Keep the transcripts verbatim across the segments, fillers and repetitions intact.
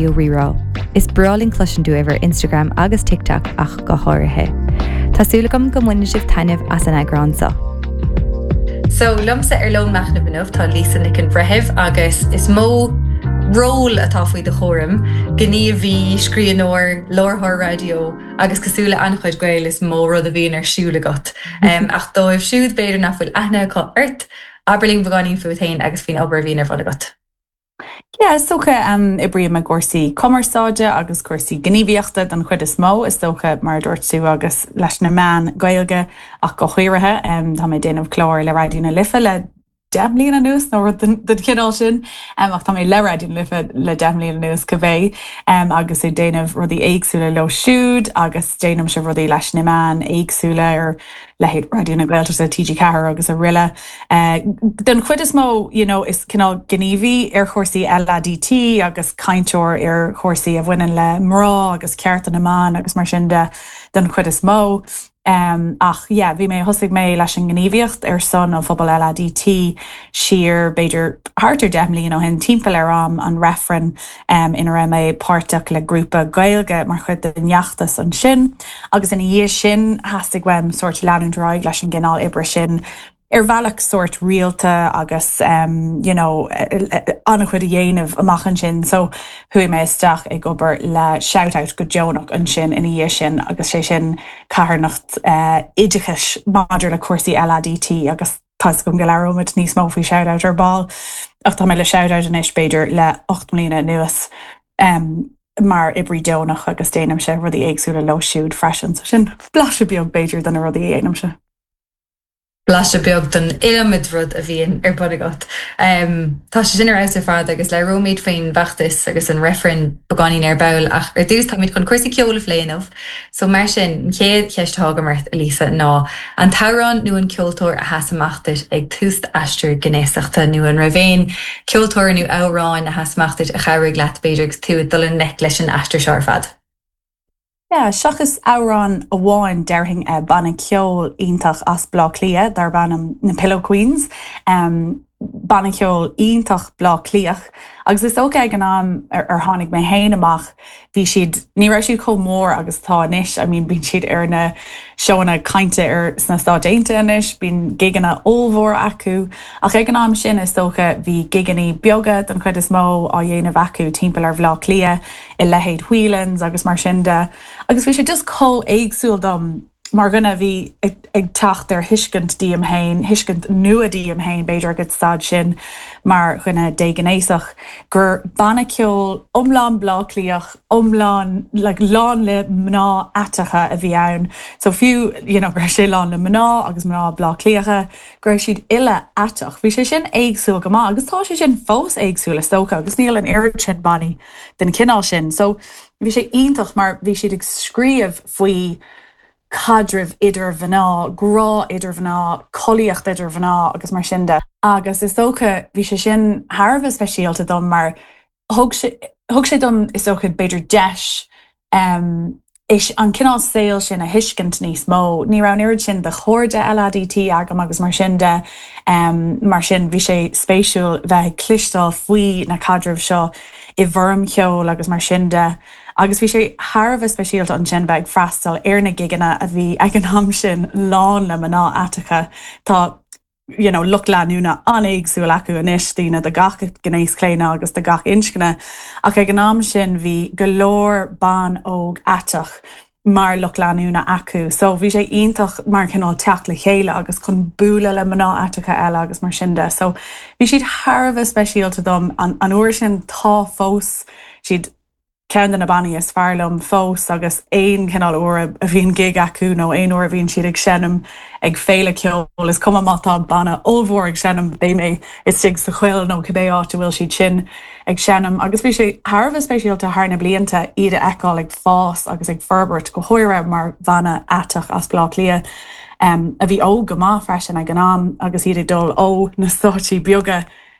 Rí-Rá. Is breá linn cloisint uaibh ar Instagram agus TikTok ach go háirithe. Tá súil agam go mbainfidh sibh taitneamh as an eagrán seo. So liomsa ar Lón Machnaimh inniu tá Lisa Nic an Bhreithimh agus is mó ról atá faoi do chúram, gníomhaí, scríbhneoir, láithreoir raidió agus cosúil le an-chuid Gael is mó rud a bhíonn ar siúl agat. Um, ach dóibh siúd b'fhéidir nach bhfuil aithne acu ort, abair linn beagáinín fút féin agus faoin obair a bhíonn ar bun agat. Yeah, is dócha um, oibrím i gcúrsaí cumarsáide agus cúrsaí gníomhaíochta den chuid is mó is dócha mar dúirt tú agus leis na meáin Gaeilge ach go háirithe um, tá mé déanamh clár le Raidió na Life le deich mbliana anuas nó rud den chineál sin um, ach tá mé le Raidió na Life le deich mbliana anuas go bheith um, agus ag déanamh rudaí éagsúla leo siúd agus déanaimse rudaí leis na meáin éagsúla ar leithéid Raidió na Gaeltachta TG Ceathair agus araile. Uh, den chuid is mó you know, is cineál gníomhaí ar chúrsaí LADT agus cainteoir ar chúrsaí a bhaineann le mná agus cearta na mban agus mar sin de den chuid is mó. Um, ach yeah, bhí mé thosaigh mé leis an ngníomhaíocht ar son an phobal LADT siar b'fhéidir thart ar deich mbliana ó shin timpeall ar am an reifreann um, ina raibh mé páirteach le grúpa Gaeilge mar chuid den fheachtas ansin, agus ina dhiaidh sin theastaigh uaim sórt leanúint ar aghaidh leis an gcineál oibre sin ar bhealach sórt rialta agus um, you know, an-chuid a dhéanamh amach ansin, so chuaigh mé isteach ag obair le ShoutOut go deonach ansin ina dhiaidh sin agus sé sin carthanacht uh, oideachais maidir le cúrsaí LADT agus tá go go labhróimid níos mó faoi ShoutOut ar ball ach tá mé le ShoutOut anois b'fhéidir le ocht mbliana anuas um, mar oibrí deonach agus déanaimse rudaí éagsúla leo siúd freisin, so sin blaiseadh beag b'fhéidir de na rudaí a dhéanaimse. Blaiseadh beag den iliomad rud a bhíonn ar bun agat. Um, tá sé sin ar fheabhas ar fad agus labhróimid faoin bhfeachtas agus an reifreann beagáinín ar ball ach ar dtús táimid chun cúrsaí ceoil a phlé inniu. So mar sin an chéad cheist atá agam ort Lisa ná an t-amhrán nó an ceoltóir a sheas amach duit ag tús aistear gnéasachta nó an raibh aon ceoltóir nó amhrán a sheas amach duit a chabhraigh leat b'fhéidir agus tú ag dul i ngleic leis an aistear seo ar fad. Yeah, seachas amhrán amháin déarfainn uh, banna ceoil iontach as Bleá Cliath darb ainm na Pillow Queens. Um, banna ceoil iontach Bleá Cliathach. Agus is dócha ag an am ar, ar tháinig mé féin amach, bhí siad ní raibh siad chomh mór agus tá anois, I mean bíonn siad ar na seónna cainte ar sna Stáit Aontaithe anois, bíonn gigeanna ollmhór acu, ach ag an am sin is dócha bhí gigeanna beaga den chuid is mó á dhéanamh acu timpeall ar Bhleá Cliath i leithéid Whelan's agus mar sin de. Agus bhí sé just chomh éagsúil dom mar dhuine bhí ag, ag teacht ar thuiscint díom féin, thuiscint nua díom féin b'fhéidir ag an staid sin mar dhuine déghnéasach, gur banna ceoil iomlán Bleá Cliathach, iomlán like, lán le mná aiteacha a bhí ann. So fiú you know, raibh sé lán le mná agus mná Bleá Cliathacha, go raibh siad uile aiteach. Bhí sé sin éagsúil go maith, agus tá sé sin fós éagsúil is dócha, agus níl an oiread sin bannaí den chineál sin. So bhí sé iontach mar bhí siad ag scríobh faoi caidrimh idir mhná, grá idir mhná, collaíocht idir mhná agus mar sin de. Agus is dócha bhí sé sin thar a bheith speisialta dom mar thug sé thug sé dom is dócha b'fhéidir deis um, is an cineál saoil sin a thuiscint níos mó. Ní raibh an oiread sin de chairde LADT agam agus mar sin de um, mar sin bhí sé spéisiúil bheith ag cloisteáil faoi na caidrimh seo i bhfoirm cheoil agus mar sin de. Agus bhí sé thar a bheith speisialta ansin bheith ag freastal ar na gigeanna a bhí ag an am sin lán le mná aiteacha Tá you know, lucht leanúna an-éagsúil acu anois daoine de gach gnéaschlaonadh agus de gach inscne, ach ag an am sin bhí go leor ban óg aiteach mar lucht leanúna acu. So bhí sé iontach mar cineál teacht le chéile agus chun bualadh le mná aiteacha eile agus mar sin de. So bhí siad thar a bheith speisialta dom an, an uair sin tá fós siad ceann de na bannaí is fearr liom fós agus aon chineál uair a bhíonn gig acu nó aon uair a bhíonn siad ag seinm ag féile ceoil is cuma má tá banna ollmhór ag seinm beidh mé istigh sa choill nó cibé áit a bhfuil siad sin ag seinm agus bhí sé thar a bheith speisialta thar na blianta iad a fheiceáil ag fás agus ag forbairt go háirithe mar bhanna aiteach as Bleá Cliath. Um, a bhí óg go maith freisin ag an am agus iad ag dul ó na stáitsí beaga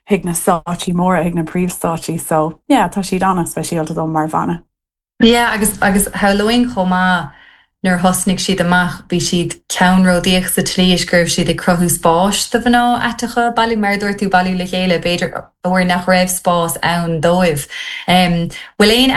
chuig na stáitsí móra chuig na príomhstáitsí so yeah, tá siad an-speisialta dom mar bhanna. Yeah, agus agus shamhlóinn chomh maith nuair thosnaigh siad amach bhí siad ceannródaíoch sa tslí is go raibh siad ag cruthú spáis do mhná aiteacha bailiú mar dúirt tú bailiú le chéile b'fhéidir uair nach raibh spás ann dóibh. Um, bhfuil aon